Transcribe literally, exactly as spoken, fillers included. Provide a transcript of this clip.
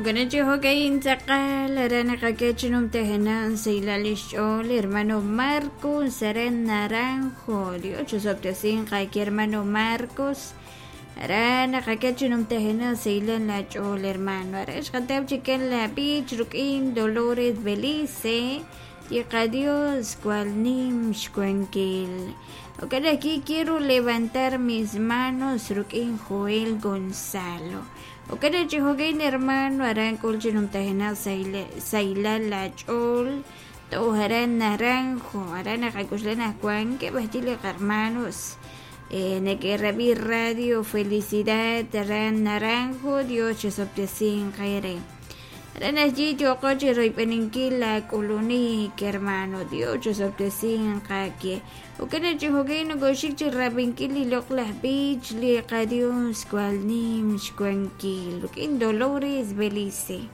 Ukanachi jokayin tzaqal arana qakech numtajanan sailal ixch'ool hermano Marcos aran Naranjo. Dios chusoptesin qaki hermano Marcos arana qakech numtajanan sailan la ch'ool hermano. Arax qataw chikan la bich rukin Dolores Belice Yiqa Dios cual nim xkuankil. Ok, aquí quiero levantar mis manos rukin Joel Gonzalo. Ok, chijogain hermano aran kulchinum tajena saila la chol toharan naranjo aran akakuslana Juan que bastile hermanos. Eh, Neque Radio Felicidad aran naranjo Dios chesoptesin jaire. Aran allí yo coche roipeninkil la kulunik hermano Dios chesoptesin jake. Ukana chijogain goshik chirabinkil ilok beach li Dios cual nim xkuankil. Rukin Dolores Belice.